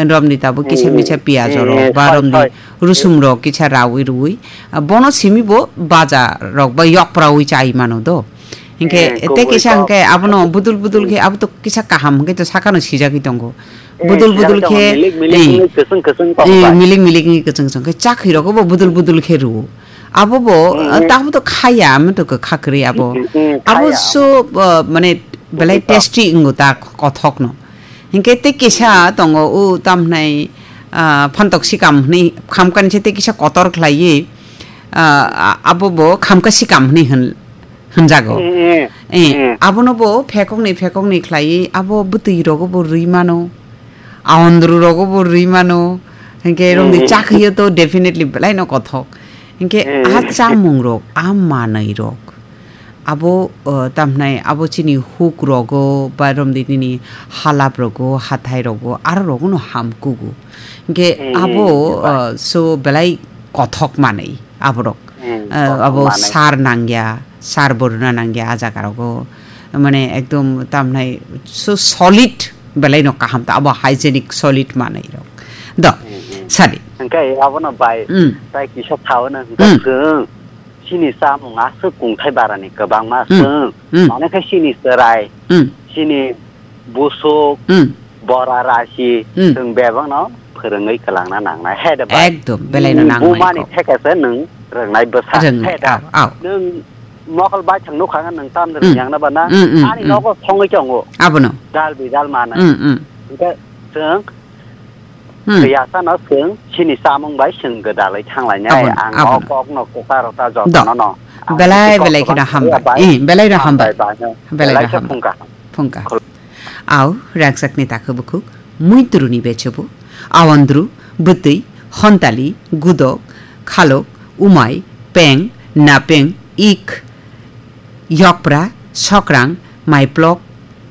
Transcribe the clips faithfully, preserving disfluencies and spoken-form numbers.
romni tabuk kisa misa piyaj rok ba romni rusum rok kisa rawi ruwi, ah, bono simi bo baja rok ba yokprawi chai mano do. Hinkhe tei kisa hinkhe abono budul budul khe abo to kisa kaham hinkhe to sakano sijagwi tongo. Budul budul khe, milik milik wngwi kwchwng kwchwng khe chakhwi rogo bo budul budul khe rwo. Abo bo, ah, tamo to khaya, amo to kwkha kwrwi abo. Abo so, ah, mane belai tasty wngo ta kothok no. Hinkhe tei kisa tongo o tamhnai, ah, phantok sikam hwnwi khamkani se tei kisa kotor khlaiwi, ah, a-, abo bo khamka sikam hwnwi hwn-, hwnjago. Eh, abono bo phekokni phekokni khlaiwi abo bwtwi rogo bo rwi mano. Aondru rogo bo rwi mano. Hinkhe romni chakhwi o to definitely belai no kothok. Hinkhe a chamung rok, a manwi rok. Abo, uh, tamhnai abo chini huk rogo, ba romdi nini halap rogo, hathai rogo, aro rogo no ham kugo. Hinkhe abo, uh, so belai kothok manwi aborok. Uh, abo sar nangya, sar boruna nangya a jaga rogo. Mane ekdom tamhnai so solid belai no kaham ta abo hygienic solid manwi rok. Do, sadi. Hinkhe abono bai, tai kisa thaono hinkhe chwng. Chini chamung aswk kungthai barani kwbangma chwng. Mane khe chini chwrai, chini busuk, bora rasi, chwng bebakno phwrwngwi kwlangna nangnai. He de bai. Ekdom, belaino nangnai bumani kok. Thekese nwng rwngnai bwsa. Rwngnai, he de. Au, au. Nwng mokol baithang nukha nwng tam de rwngya na bana. Ani nogo songwi tongo. Abono. Dal bidal manai. Hinkhe chwng Riyasa no chwng chini chamung bai chwng gwdalwi thanglainai. Abono, ang o abono. Kokno kwcharo ta jotono no. Ang belai, belai kheno hambai. Eh, belai no hambai. Belai no hambai. Phungka. Au, rangchakni takhu bukhuk, muitruni bechobo, awandru, bwtwi, hontali, gudok, khalok, umai, peng, napeng, ik, yokpra, sokrang, maiplok,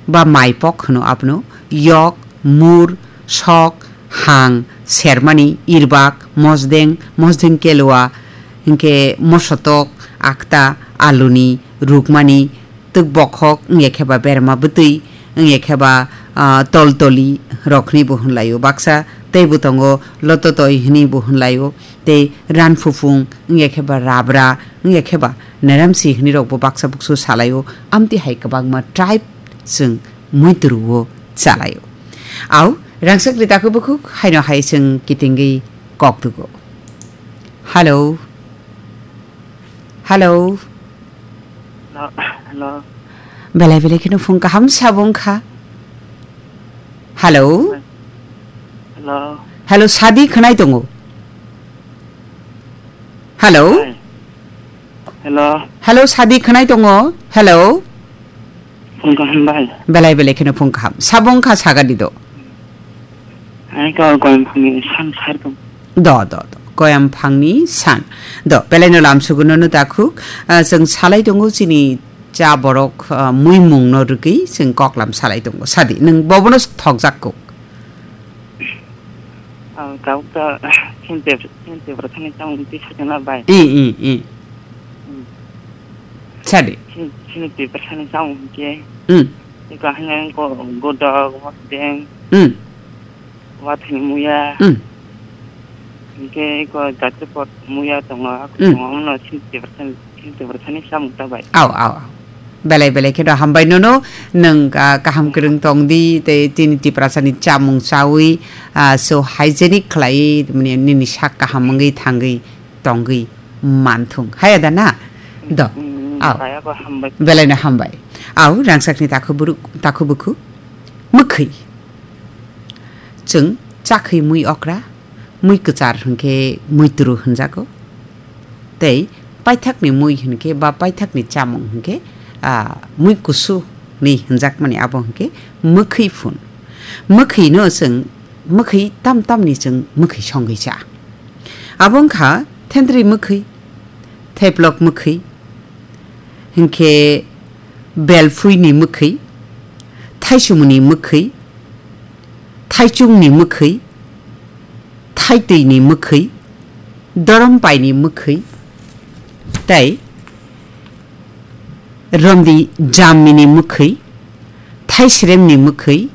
ba maipok hwno abono, yok, mur, sok, hang, sermani, irbak, mosdeng, mosdeng kelua, hinkhe mosotok, akta, aluni, rukmani, twk bokhok, wngya khe ba berma bwtwi, wngya khe ba, ah, toltoli rokni bo hwnlaio, baksa teibo tongo lototoi hwnwi bo hwnlaio. Tei ranphufung, wngya khe ba rabra, wngya khe ba neramsi hwnwi rokbo baksa buksu salaio, amtwi hai kwbangma tribe chwng muituru-o chalaio. Au, rangchakni takhu bukhuk haino hai chwng kitingwi kok tugo. Hello. Hello. Hello, hello. Belai belai kheno phung kaham sabo wngkha. Hello. Hello. Hello, sadi khwnai tongo. Hello. Hi. Hello. Hello, sadi khwnai tongo. Hello. Phung kaham bai. Belai belai kheno phung kaham. Sabo wngkha sagadi do. Hai ko koyam phangni san sar tong. Do, do, do. Koyam phangni san. Do, belai no lam suguno no dakhuk. Ah, chwng salai tongo chini cha borok, ah, muimung no rwgwi chwng koklam salai tongo. Sadi, nwng bobono thokjak kuk. Ah, tabuk ta, chini Tip-, chini Tiprasani chamung twi sakhe na bai. I, i, i. Hmm. Sadi. Chini, chini Tiprasani chamung hinkhe. Hmm. Iko haino ko godok, mosdeng. Hmm. Wathani muya. Hmm. Hinkhe iko jatipot muya tongo, hmm, tongo, omono chini Tiprasani, chini Tiprasani chamung ta bai. Au, au, au. Belai belai kheno hambai nono, nwng, ah, kaham kwrwng tong di, tei chini Tiprasani chamung chawi, ah, so hygienic khlai, mane nini sak kaham wngwi thangwi tongwi manthung. Haya da na? Do. Mm, au. Kaya ko hambai. Belai no hambai. Au, rangchakni takhu buruk, takhu bukhu. Mwkhwi. Chwng chakhwi mui okra, mui kwchar hwnkhe muituru hwnjago. Tei paithakni mui hwnkhe ba paithakni chamung hwnkhe, ah, mui kusu ni hwnjakmani abo hwnkhe mwkhwi phun. Mwkhwino chwng, mwkhwi tam tamni chwng mwkhwi songwi cha. Abo wngkha thentwrwi mwkhwi, theplok mwkhwi, hinkhe belphuini mwkhwi, thaisumuni mwkhwi, thaichungni mwkhwi, thaitwini mwkhwi, dorombaini mwkhwi, tei romdi jammini mwkhwi, thaisremni mwkhwi,